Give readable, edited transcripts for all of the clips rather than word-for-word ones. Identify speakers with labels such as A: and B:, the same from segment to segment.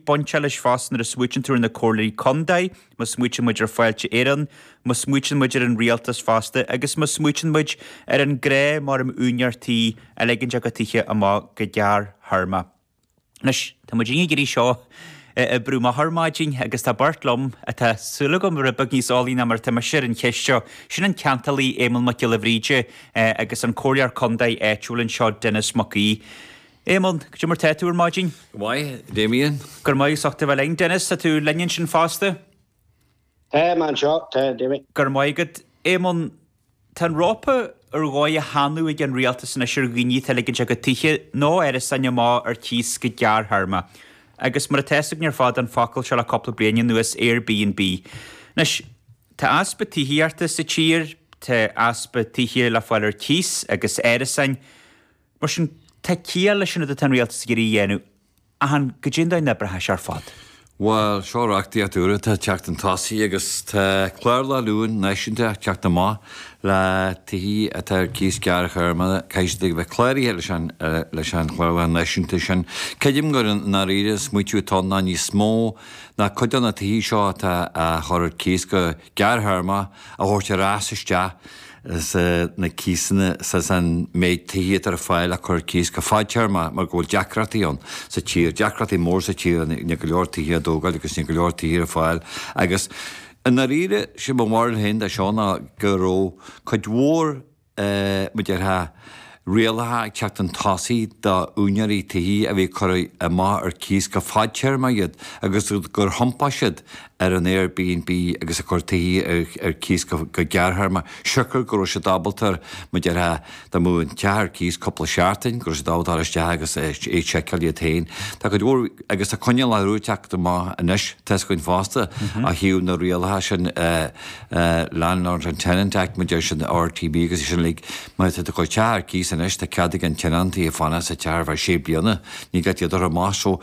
A: bainteach leis fosta nuair a smaoitíonn tú ar na comhairleoirí contae, má smaoitíonn muid ar Fáilte Éireann, má smaoitíonn muid ar an rialtas fosta agus má smaoitíonn muid ar an ghnáth mar um úinéir tí a ligeann a gcuid tithe amach go gearrthéarma. Anois, tá muid ag iarraidh seo a oibriú amach ar maidin agus tá beirt liom atá súil agam rud beag níos eolaí ná mar atá mise ar an cheist seo. Sin an ceantálaí Éamonn Mac Giolla Bhríde agus an comhairleoir contae áitiúil anseo Denis Mac Aoidh. Éamonn, cad é mar tá tú ar maidin?
B: Go maith, Damien.
A: Go raibh maith as ucht a bheith linn. Denis, tá tú linn ansin fosta?
C: Tá mé anseo, tá, Damien.
A: Go raibh maith agat. Éamonn, Tá an rópa ar dhóigh á theannadh ag an rialtas anois ar dhaoine atá ag ligint a gcuid tithe nó árasáin amach ar cíos go gearrthéarma. Agus mar atá fhios againn ar fad an focal seo le cúpla bliain anuas, Airbnb. Anois, tá easpa tithíochta sa tír, tá easpa tithe le fáil ar cíos agus árasáin. Mar sin, tá ciall leis an rud atá an rialtas ag iarraidh a dhéanamh, ach an goidé an dóigh a n-oibreoidh sé ar fad?
B: Bhuel, seo reachtaíocht úr atá ag teacht chun tosaigh agus tá clárlann úr náisiúnta ag teacht amach le tithe atá ar cíos gearrthéarma, caithfidh siad a bheith cláraithe leis an leis an chlárlann náisiúnta sin. Creidim gur i ndáiríre an smaoitiú atá ann ná níos mó ná cuid de na tithe seo atá á chur ar cíos go gearrthéarma a thabhairt ar ais isteach sa na cíosanna sa san méid tithe atá ar fáil le cur ar cíos go fadtéarma mar go bhfuil deacrachtaí ann sa tír, deacrachtaí mór sa tír, níl go leor tithe á dtógáil agus níl go leor tithe ar fáil agus i ndáiríre, sé mo bharúil féin de seo ná go raibh cuid mhór mar déarfá rialacha ag teacht chun tosaigh do úinéirí tithe a bhí ag cur amach ar cíos go fadtéarma iad agus gur thiompaigh siad ar an Airbnb agus ag cur tithe ar cíos go gearrthéarma, siocair go raibh siad ábalta, mar déarfá, dá mbeadh an teach ar cíos cúpla seachtain, go raibh siad ábalta dul isteach agus é a sheiceáil iad féin. Tá cuid mhór, agus tá coinníollacha úr ag teacht amach anois, tá fhios againn fosta, ó thaobh na rialacha sin, Landlord and Tenant Act, mar deir siad, RTB agus é sin uilig, má tá tú ag cur teach ar cíos anois, tá cead ag an tionóntaí fanacht sa teach ar feadh sé bliana, ní gá iad a chur amach. So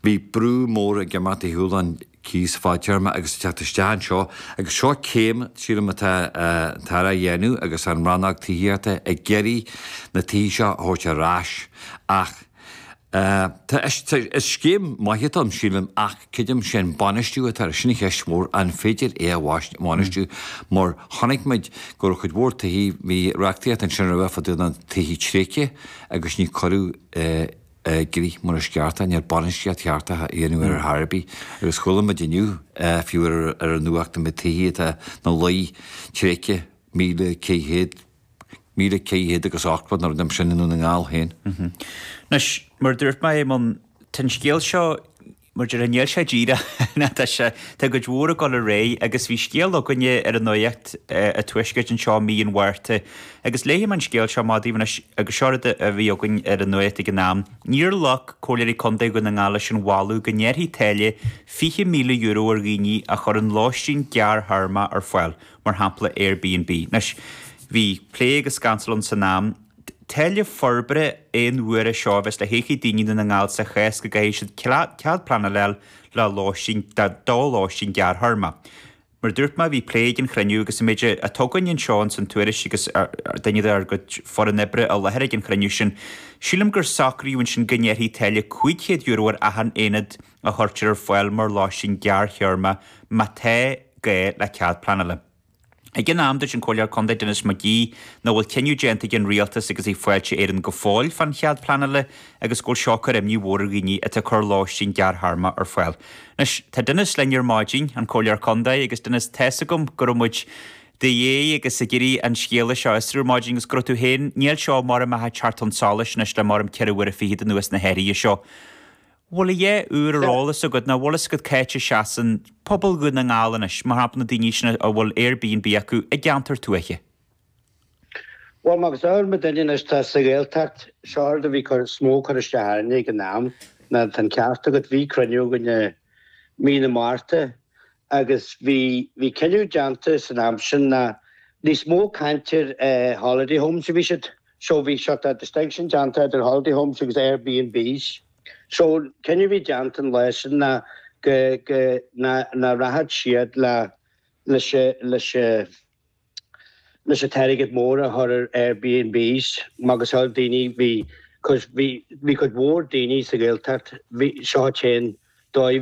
B: bhí brú mór ag imeacht ar shiúl an cíos fadtéarma agus ag teacht isteach anseo agus seo céim, sílim, atá an tAire a dhéanamh agus an rannóg tithíochta ag iarraidh na tithe seo a thabhairt ar ais ach Tá, is scéim maith atá ann, sílim, ach creidim sé an bainistiú atá air, sin an cheist mhór, an féidir é a bhainistiú mar chonaic muid go raibh cuid mhór tithe, bhí reachtaíocht ansin roimhe fá dtaobh na tithe tréigthe agus ní cuireadh i gcrích mar is ceart é, níl bainistíocht cheart á dhéanamh ar chor ar bith agus chuala muid inniu fiú ar an nuacht na tithe atá ina luí tréigthe, 1,400. 1,480 nó rud mar sin i nDún na nGall féin.
A: Anois, mar a dúirt mé, Éamonn, tá an scéal seo, mar a déarfá, níl sé díreach, ná tá sé, tá cuid mhór ag dul ar aghaidh agus bhí scéal againne ar an nuacht an Tuaiscirt anseo mí an Mhárta agus léifidh mé an scéal seo amach daoibh anois agus seo rud a bhí againn ar an nuacht ag an am. Níor ghlac Comhairleoirí Contae Dhún na nGall leis an mholadh go ngearrfaí táille €20,000 ar dhaoine a chuireann lóistín gearrthéarma ar fáil. mar shampla Airbnb. Anois, bhí plé agus cantal ann san am. Táille forbartha aon uaire seo a bheas le híoc ag daoine i nDún na nGall sa chás go gcaithfidh siad cead pleanála a fháil le lóistín, do lóistín gearrthéarma. Mar a dúirt mé, bhí plé ag an chruinniú agus an méid atá againn anseo ins an tuairisc agus duine dár gcuid foireann oibre i láthair ag an chruinniú sin, sílim gur socraíodh ansin go ngearrfaí táille €500 ar achan aonad a chuirtear ar fáil mar lóistín gearrthéarma má tá gá le cead pleanála. Ag an am, dúirt an Comhairleoir Contae Denis McGee nach bhfuil cinneadh déanta ag an Rialtas agus ag Fáilte Éireann go fóill fán chead pleanála agus go bhfuil seo ag cur imní mhór ar dhaoine atá ag cur lóistín gearrthéarma ar fáil. Anois, tá Denis linn ar maidin, an Comhairleoir Contae, agus Denis, tá's agam go raibh muid do dhiaidh agus ag iarraidh an scéala seo a fhiosrú ar maidin agus go raibh tú féin, níl seo mar a mbeadh ag teacht chun solais anois le mar am 24 uaire anuas na hathruithe seo. Bhfuil a dhath úr ar eolas agat nó bhfuil fhios agat c'áit a seasann pobal Dhún na nGall anois, mar shampla na daoine sin a bhfuil Airbnb acu i gceantar tuaithe?
C: Bhuel, mar is eol do dhuine anois atá sa Ghaeltacht, seo rud a bhí cur, is mó cur isteach orainne ag an am, ná tá an ceart agat, bhí cruinniú againn i mí na Márta agus bhí, bhí cinneadh déanta san am sin ná níos mó caint ar holiday homes a bhí siad. So bhí sort of distinction déanta idir holiday homes agus Airbnbs. So cinneadh a bhí déanta an lá sin ná go, go, ná, ná rachadh siad le, leis a, leis a, leis an t-airgead mór a chur ar Airbnbs macasamhail daoine bhí, cos bhí, bhí cuid mhór daoine sa Ghaeltacht, bhí, seo an t-aon dóigh a bhí.